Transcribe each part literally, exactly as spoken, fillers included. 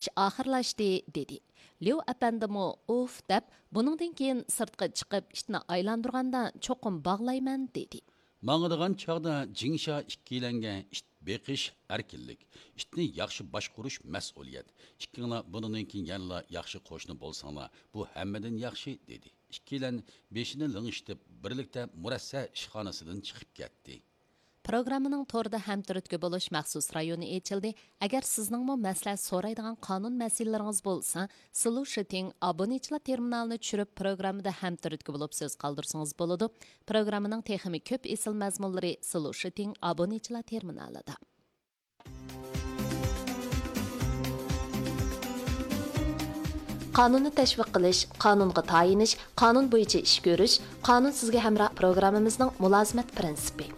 ئىش ئاخىرلاشتى، دېدى. ليۇ ئەپەندىمۇ ئۇف دەپ، بۇنىڭدىن كېيىن سىرتقا چىقىپ ئىتنى ئايلاندۇرغاندا چوقۇم باغلايمەن، دېدى. ماڭىدىغان چاغدا جىڭشا ئىككىيلەنگە ئىت بېقىش ئەركىنلىك، ئىتنى ياخشى باشقۇرۇش مەسئۇلىيەت. ئىككىڭلار بۇنىڭدىن كېيىن يەنىلا ياخشى قوشنا بولساڭلار، بۇ ھەممىدىن ياخشى، دېدى. ئىككىيلەن بېشىنى لىڭشىتىپ، بىرلىكتە مۇرەسسە ئىشخانىسىدىن چىقىپ كەتتى. پروگراممىنىڭ توردا ھەمتۈرتكە بولۇش مەخسۇس رايونى ئېچىلدى. ئەگەر سىزنىڭمۇ مەسلىھەت سورايدىغان قانۇن مەسىلىلىرىڭىز بولسا، سلۇشىتىڭ ئابۇنىچىلار تېرمىنالىنى چۈشۈرۈپ، پروگراممىدا ھەمتۈرتكە بولۇپ سۆز قالدۇرسىڭىز بولىدۇ. پروگراممىنىڭ تېخىمۇ كۆپ ئېسىل مەزمۇنلىرى سلۇشىتىڭ ئابۇنىچىلار تېرمىنالىدا. قانۇننى تەشۋىق قىلىش، قانۇنغا تايىنىش، قانۇن بويىچە ئىش كۆرۈش، قانۇن سىزگە ھەمراھ پروگراممىمىزنىڭ مۇلازىمەت پىرىنسىپى.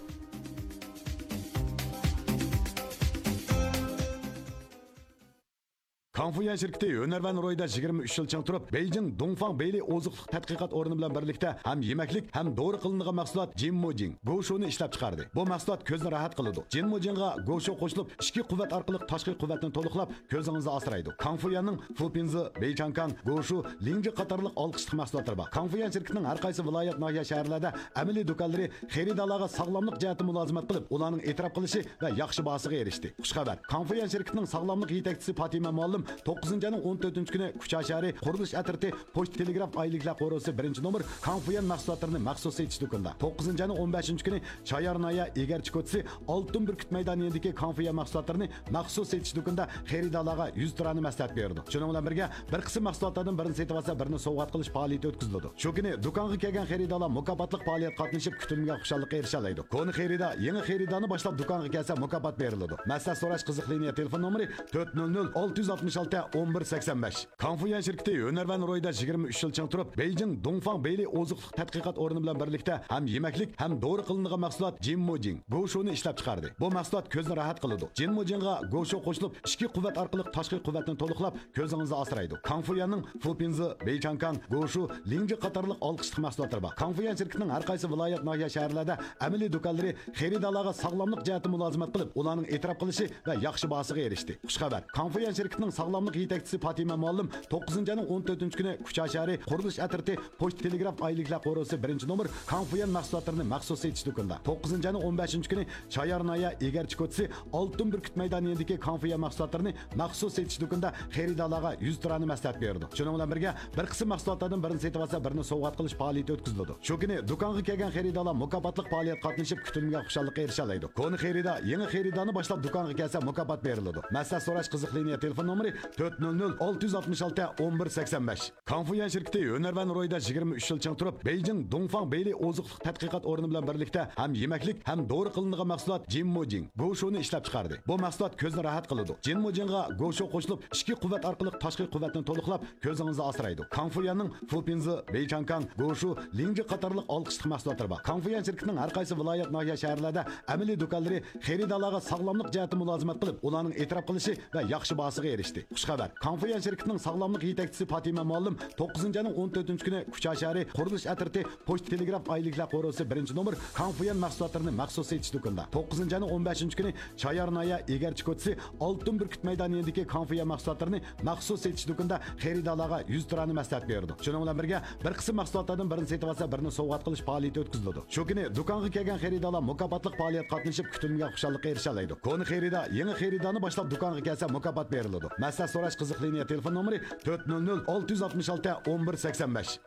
كاڭفۇيۈەن شىركىتى ھۈنەرۋەن رويدا يىگىرمە ئۈچ يىل چىڭ تۇرۇپ، بېيجىڭ دۇڭفاڭ بېيلى ئوزۇق تەتقىقات ئورنى بىلەن بىرلىكتە ھەم يېمەكلىك، ھەم دورا قىلىنىدىغان مەھسۇلات جىنمۇجىڭ، گوشۇنى ئىشلەپ چىقاردى. بۇ مەھسۇلات كۆزنى راھەت قىلىدۇ. جىنمۇجىڭغا گوشۇ قوشۇلۇپ، ئىچكى قۇۋۋەت ئارقىلىق تاشقى قۇۋۋەتنى تولۇقلاپ، كۆزىڭىزنى ئاسرايدۇ. كاڭفۇيۈەننىڭ فۇپىنزى، بېيچاڭكاڭ، گوشۇ، لىڭجى قاتارلىق ئالقىشلىق مەھسۇلاتلىرى بار. كاڭفۇيۈەن شىركىتىنىڭ ھەر قايسى ۋىلايەت، ناھىيە، شەھەرلەردە ئەمەلىي دۇكانلىرى خېرىدارلارغا ساغلاملىق جەھەتتىن مۇلازىمەت قىلىپ، ئۇلارنىڭ ئېتىراپ قىلىشى ۋە ياخشى باھاسىغا ئېرىشتى. خۇش خەۋەر! كاڭفۇيۈەن شىركىتىنىڭ ساغلاملىق يېتەكچىسى پاتىمە مۇئەللىم توققۇزىنچى ئاينىڭ ئون تۆتىنچى كۈنى كۇچا شەھىرى قۇرۇلۇش ئەترىتى پوچتا تېلېگراف ئايلىكلەر قورۇسى بىرىنچى نومۇر كاڭفۇيۈەن مەھسۇلاتلىرىنى مەخسۇس سېتىش دۇكىنىدا، توققۇزىنچى ئاينىڭ ئون بەشىنچى كۈنى چايار ناھىيە ئېگەرچى كوچىسى ئالتۇن بۈركۈت مەيدانى يېنىدىكى كاڭفۇيۈەن مەھسۇلاتلىرىنى مەخسۇس سېتىش دۇكىنىدا خېرىدارلارغا يۈز تۇرانى مەسلىھەت بېرىدۇ. شۇنىڭ بىلەن بىرگە، بىر قىسىم مەھسۇلاتلاردىن بىرىنى سېتىۋالسا، بىرىنى سوۋغات قىلىش پائالىيىتى ئۆتكۈزۈلىدۇ. شۇ كۈنى دۇكانغا كەلگەن خېرىدارلار مۇكاپاتلىق پائالىيەتكە قاتنىشىپ، كۈتۈلمىگەن خۇشاللىققا ئېرىشەلەيدۇ. كونا خېرىدار، يېڭى خېرىدارنى باشلاپ دۇكانغا كەلسە، مۇكاپات بېرىلىدۇ. مەسلىھەت سوراش قىزىق لىنىيە تېلېفون نومۇرى تۆت نۆل نۆل، ئالتە يۈز ئاتمىش ئالتە، ئون بىر سەكسەن بەش. كاڭفۇيۈەن شىركىتى ھۈنەرۋەن رويدا يىگىرمە ئۈچ يىل چىڭ تۇرۇپ، بېيجىڭ دۇڭفاڭ بېيلى ئوزۇق تەتقىقات ئورنى بىلەن بىرلىكتە ھەم يېمەكلىك، ھەم دورا قىلىنىدىغان مەھسۇلات جىنمۇجىڭ، گوشۇنى ئىشلەپ چىقاردى. بۇ مەھسۇلات كۆزنى راھەت قىلىدۇ. جىنمۇجىڭغا گوشۇ قوشۇلۇپ، ئىچكى قۇۋۋەت ئارقىلىق تاشقى قۇۋۋەتنى تولۇقلاپ، كۆزىڭىزنى ئاسرايدۇ. كاڭفۇيۈەننىڭ فۇپىنزى، بېيچاڭكاڭ، گوشۇ، لىڭجى قاتارلىق ئالقىشلىق مەھسۇلاتلىرى بار. كاڭفۇيۈەن شىركىتىنىڭ ھەر قايسى ۋىلايەت، ناھىيە، شەھەرلەردە ئەمەلىي دۇكانلىرى خېرىدارلارغا ساغلاملىق جەھەتتىن مۇلازىمەت قىلىپ، ئۇلارنىڭ ئېتىراپ قىلىشى ۋە ياخشى باھاسىغا ئېرىشتى. خۇش خەۋەر! كاڭفۇيۈەن شىركىتىنىڭ ساغلاملىق يېتەكچىسى پاتىمە مۇئەللىم توققۇزىنچى ئاينىڭ ئون تۆتىنچى كۈنى كۇچا شەھىرى قۇرۇلۇش ئەترىتى پوچتا تېلېگراف ئايلىكلەر قورۇسى بىرىنچى نومۇر كاڭفۇيۈەن مەھسۇلاتلىرىنى مەخسۇس سېتىش دۇكىنىدا، توققۇزىنچى ئاينىڭ ئون بەشىنچى كۈنى چايار ناھىيە ئېگەرچى كوچىسى ئالتۇن بۈركۈت مەيدانى يېنىدىكى كاڭفۇيۈەن مەھسۇلاتلىرىنى مەخسۇس سېتىش دۇكىنىدا خېرىدارلارغا يۈز تۇرانى مەسلىھەت بېرىدۇ. شۇنىڭ بىلەن بىرگە، بىر قىسىم مەھسۇلاتلاردىن بىرىنى سېتىۋالسا، بىرىنى سوۋغات قىلىش پائالىيىتى ئۆتكۈزۈلىدۇ. شۇ كۈنى دۇكانغا كەلگەن خېرىدارلار مۇكاپاتلىق پائالىيەتكە قاتنىشىپ، كۈتۈلمىگەن خۇشاللىققا ئېرىشەلەيدۇ. كونا خېرىدار، يېڭى خېرىدارنى باشلاپ دۇكانغا كەلسە، مۇكاپات بېرىلىدۇ. مەسلىھەت سوراش قىزىق لىنىيە تېلېفون نومۇرى تۆت نۆل نۆل، ئالتە يۈز ئاتمىش ئالتە، ئون بىر سەكسەن بەش. كاڭفۇيۈەن شىركىتى ھۈنەرۋەن رويدا يىگىرمە ئۈچ يىل چىڭ تۇرۇپ، بېيجىڭ دۇڭفاڭ بېيلى ئوزۇقلۇق تەتقىقات ئورنى بىلەن بىرلىكتە ھەم يېمەكلىك، ھەم دورا قىلىنىدىغان مەھسۇلات جىنمۇجىڭ، گوشۇنى ئىشلەپ چىقاردى. بۇ مەھسۇلات كۆزنى راھەت قىلىدۇ. جىنمۇجىڭغا گوشۇ قوشۇلۇپ، ئىچكى قۇۋۋەت ئارقىلىق تاشقى قۇۋۋەتنى تولۇقلاپ، كۆزىڭىزنى ئاسرايدۇ. كاڭفۇيۈەننىڭ فۇپىنزى، بېيچاڭكاڭ، گوشۇ، لىڭجى قاتارلىق ئالقىشلىق مەھسۇلاتلىرى بار. كاڭفۇيۈەن شىركىتىنىڭ ھەر قايسى ۋىلايەت، ناھىيە، شەھەرلەردە ئەمەلىي دۇكانلىرى خېرىدارلارغا ساغلاملىق جەھەتتىن مۇلازىمەت قىلىپ، ئۇلارنىڭ ئېتىراپ قىلىشى ۋە ياخشى باھاسىغا ئېرىشتى. خۇش خەۋەر! كاڭفۇيۈەن شىركىتىنىڭ ساغلاملىق يېتەكچىسى پاتىمە مۇئەللىم توققۇزىنچى ئاينىڭ ئون تۆتىنچى كۈنى كۇچا شەھىرى قۇرۇلۇش ئەترىتى پوچتا تېلېگراف ئايلىكلەر قورۇسى بىرىنچى نومۇر كاڭفۇيۈەن مەھسۇلاتلىرىنى مەخسۇس سېتىش دۇكىنىدا، توققۇزىنچى ئاينىڭ ئون بەشىنچى كۈنى چايار ناھىيە ئېگەرچى كوچىسى ئالتۇن بۈركۈت مەيدانى يېنىدىكى كاڭفۇيۈەن مەھسۇلاتلىرىنى مەخسۇس سېتىش دۇكىنىدا خېرىدارلارغا يۈز تۇرانى مەسلىھەت بېرىدۇ. شۇنىڭ بىلەن بىرگە، بىر قىسىم مەھسۇلاتلاردىن بىرىنى سېتىۋالسا، بىرىنى سوۋغات قىلىش پائالىيىتى ئۆتكۈزۈلىدۇ. شۇ كۈنى دۇكانغا كەلگەن خېرىدارلار مۇكاپاتلىق پائالىيەتكە قاتنىشىپ، كۈتۈلمىگەن خۇشاللىققا ئېرىشەلەيدۇ. كونا خېرىدار، يېڭى خېرىدارنى باشلاپ دۇكانغا كەلسە، مۇكاپات بېرىلىدۇ. مەسلىھەت سوراش قىزىق لىنىيە تېلېفون نومۇرى تۆت نۆل نۆل، ئالتە يۈز ئاتمىش ئالتە، ئون بىر سەكسەن بەش.